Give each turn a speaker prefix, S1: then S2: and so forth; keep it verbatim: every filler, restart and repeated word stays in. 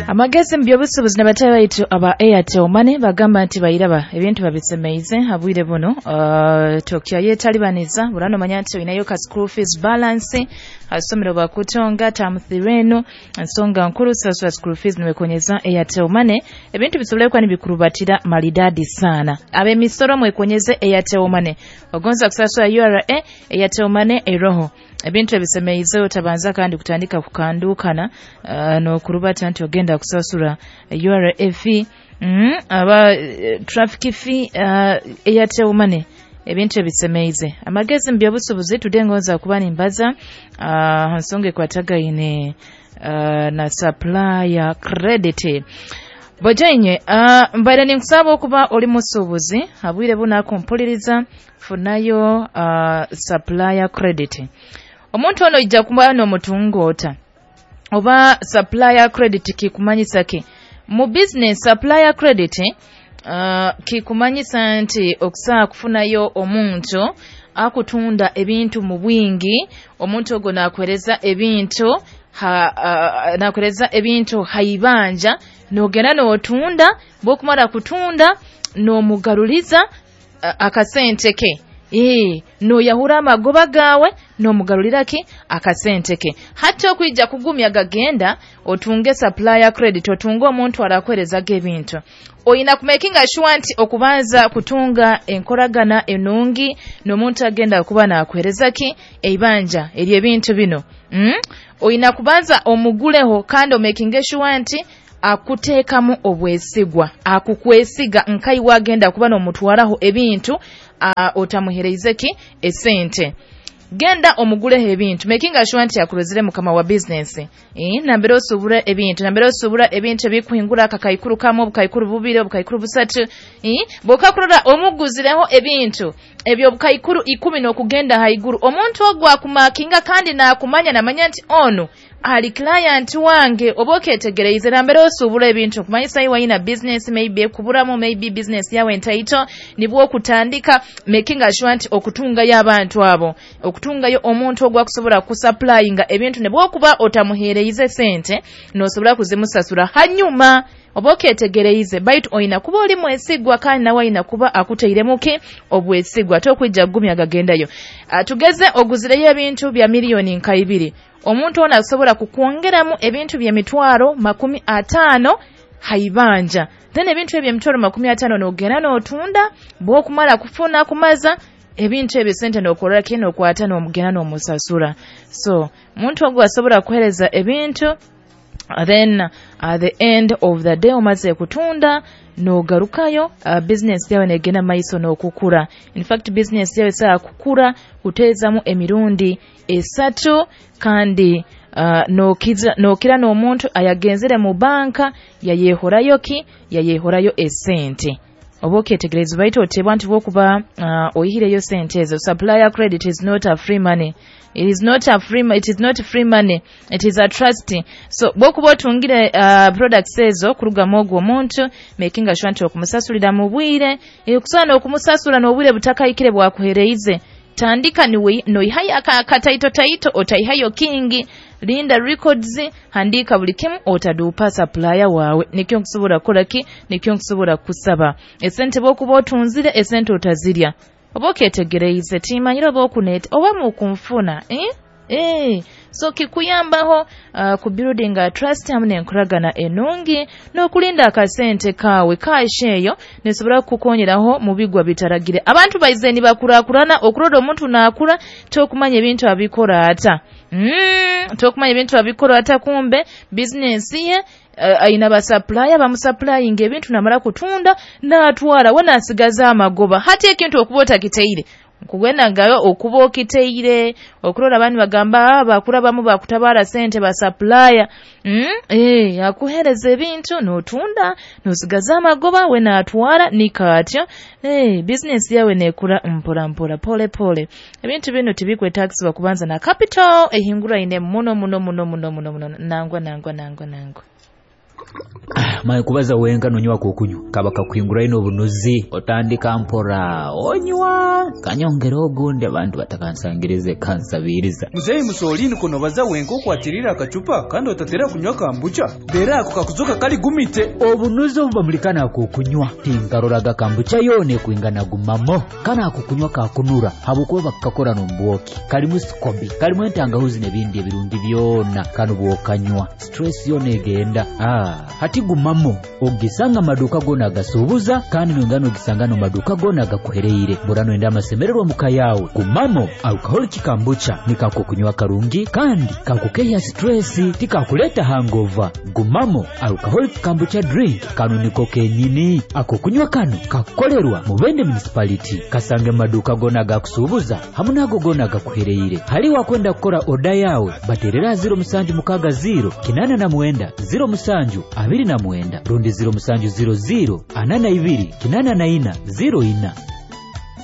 S1: Amagezi mu by'obusuubuzi n'abataahi baitu aba Airtel Money bagamba nti bayiraba ebintu babisemeize habwire buno. uh, tokyayetalibaniza burano manya nti olinayo ka school fees balance asomero bakutonga term three eno ensonga nkuru sasula school fees niwekonyeza Airtel Money ebintu bisobole kuba nibikurubatira maridadi sana. Ab'emisoro mwekonyeze Airtel Money, ogonza kusasula U R A Airtel Money eroho ebintu ebisemeize otabanza kandi kutandika kukandukana uh, n'okurubata nti ogenda kusasula U R A fee mm, aba uh, traffic fee uh, Airtel Money ebintu ebisemeize. Amagezi mu by'obusuubuzi tudengonza kuba nimbaza uh, nsonga ekwatagaine uh, na supplier credit. Bojenye uh, mbaire ninkusaba okuba oli musuubuzi habwire bunakumpuliriza funayo uh, supplier credit. Omuntu ono ijja kuba n'omutungoota oba supplier credit kikumanyisa ki mu business? Supplier credit uh, kikumanyisa nti okusaa kufunayo omuntu akutunda ebintu mu bwingi, omuntu ogwo naakwereza ebintu ha, uh, naakwereza ebintu haibanja n'ogenda n'otunda, bw'okumala kutunda n'omugaruliza uh, akasente ke. Eh, noyahura amagoba gawe n'omugarulira ki akasente ke. Hati okwijja kugumya gagenda otunge supplier credit, otunge omuntu arakwerezaga ebintu. Oyina kumakinga sure nti okubanza kutunga enkoragana enungi n'omuntu agenda kuba nakwereza ki eibanja eri ebintu bino. Mm? Oyina kubanza omuguleho kandi omakinge sure nti akuteekamu obwesigwa, akukwesiga nkai wagenda kuba n'omutwaraho ebintu uh, otamuhereize ki esente. Genda omuguleho ebintu making sure nti akurozire mukama wa business. Eh, nambere osubura ebintu, nambere osubura ebintu ebikuhingura akakaikuru kamwe, obukaikuru bubiri, obukaikuru busatu. Eh, bokakurora omuguzireho ebintu ebyo obukaikuru ikumi n'okugenda haiguru, omuntu ogwo akumakinga kandi nakumanya namanya nti ono ali client wange. Oba oketegereize nambere osubura ebintu kumanyisa iwe ina business maybe kuburamu, maybe business yawe entaito nibwo okutandika making sure nti okutungayo abantu abo, okutungayo omuntu ogwo akusobola kusupplyinga ebintu ne bwokuba otamuheereize sente nosobola kuzimusasula hanyuma. Oba oketegereize baitu oyina kuba oli mwesigwa kandi nawe ayina kuba akuteiremu ki obwesigwa tokwijja kugumya gagendayo. Uh, tugeze oguzireyo ebintu bya miliyoni nka ibiri, omuntu ono asobola kukwongeramu ebintu by'emitwaro makumi ataano haibanja, then ebintu ebyo emitwaro makumi ataano n'ogenda n'otunda, bw'okumala kufuna kumaza ebintu ebyo sente n'okola ki n'okwata n'omugenda n'omusasula. So omuntu ogwo asobola kuhereza ebintu, then at the end of the day omaze kutunda n'ogarukayo uh, business yawe negenda maiso n'okukura. In fact business yawe esobola kukura kuteezamu emirundi esatu kandi uh, n'okiza n'okira n'omuntu ayagenzere mu banka yayehorayo ki yayehorayo esente. Oba oketegereza baitu otebwa nti bwokuba uh, oyihireyo sente ezo. Supplier credit is not a free money. It is not a free, it is not free money. It is a trust. So bwokuba otungire uh, products ezo kurugamu ogwo omuntu making sure nti okumusasulira mu bwire, okusobola n'okumusasula n'obwire butakayikire bwakuhereize. Tandika niwe noihayo akataito taito otaihayo kingi, linda records, handika buli kimu otadupa supplier wawe. Nikyo nkusobola kukola ki, nikyo nkusobola kusaba esente bwokuba otunzire esente otazirya. Oba oketegereize timanyire oba okuneta oba mukunfuna eh? Eh, so kikuyambaho uh, ku building a trust hamu n'enkoragana enungi n'okulinda akasente kaawe kaashe eyo nesobola kukukonyeraho mu bigwa bitaragire. Abantu baize nibakurakurana okuroda omuntu naakura tokumanya ebintu abikora ata mm, tokumanya ebintu abikora ata kumbe business ye uh, ayina basupplier bamusupplyinga ebintu namala kutunda n'atwala we nasigaza amagoba. Hati ekintu okuba otakiteire nkugenda ngayo okuba okiteire okurora abandi bagamba bakura bamu bakutabara sente ba supplier mm? Eh, akuhereza ebintu n'otunda n'osigaza amagoba we n'atwala nikaatyo. Eh, business yawe nekura mpora mpora pole pole. Ebintu bino tibikwetagisibwa kubanza na capital ehingura ine muno muno muno muno muno muno nangwa nangwa nangwa nangwa.
S2: Maye kubaza wenka nonywa kokunywa kaba kakuhinguraine obunuzi otandika mpora onywa kanyongera ogundi abantu batakansangirize kansabiriza.
S3: Muzeyi Musolini kono baza wenka okwatirira akacupa kandi otatera kunywa kambucha dera ako kakuzoka kali gumite
S2: obunuzi obubamulikana akokunywa tinkaroraga kambucha yone kwingana gumamo kana akokunywa kakunura habukuba bakakora nombwoki kalimu sikobi kalimu entangahuzi n'ebindi ebirungi byona kanu bwokanywa stress yona egenda. Ah, hati gumamo ogisanga maduka gona agasubuza kandi nongano ogisanga no maduka gona agakuhereire burano enda amasemererwa muka yawe. Gumamo alcoholic kambucha nikakukunywa karungi kandi kakukeya stress tikakuleta hangover. Gumamo alcoholic kambucha drink kanu niko kenyini ako kunywa kanu kakolerwa Mubende municipality kasange maduka gona agakusubuza hamwe nago gona agakuhereire. Hali wakwenda kukora oda yawe baterera ziro musanju mukaga ziro kinana na mwenda ziro musanju abiri na mwenda rundi ziro musanju ziro ziro anana ibiri kinana na ina ziro ina.